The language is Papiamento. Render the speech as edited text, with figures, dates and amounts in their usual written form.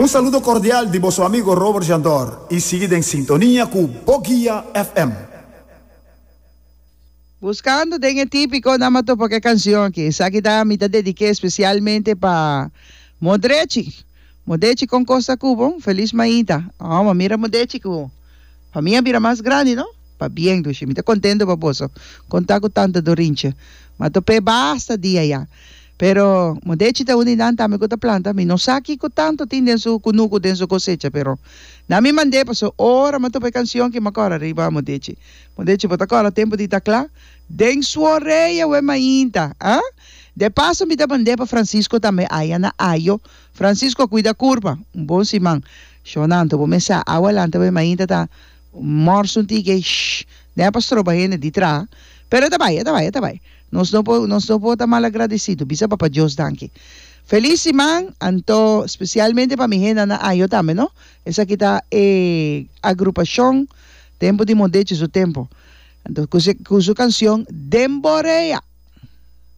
Un saludo cordial di boso amigo Robert Jandor y sigui den sintonia cu Boguia FM. Buscando den e tipico nan a topa cu e cancion aki. Esaki ta mi ta dedique especialmente pa Modrechi. Modechi con cos ta cu bo? Feliz mainta. Oh, ma mira Modechi cu famia a bira mas grandi no. Pabien dushi. Mi ta contento pa boso. Con ta cu tanta Dorintje. Ma top'e basta dia ya. Pero Modechi ta un di nan tambe cu ta planta. Mi no sa kico tanto tin den su cunucu, den su cosecha, pero nan mi mand'e paso ora mi a topa e cancion ki mi a cora riba Modechi. Modechi bo ta cora tempo di ta cla? Den su orea we mainta, ah? De paso mi ta mand'e pa Francisco tambe aya na Ayo. Francisco cuida curpa. Un bon siman. Shona anto bo mes sa awa lanta we mainta ta mors un tiki shh den pa stroba hende di traha. Pero e ta bai, e ta bai, e ta bai. Nos no por nos no por ta malagradecido. Bisa Papa Dios danki. Feliz siman anto specialmente pa mi henda na Ayo tambe no. Esaki ta e agrupacion Tempo di Mondechi su tempo. Anto cu su cu su cancion Den Borea.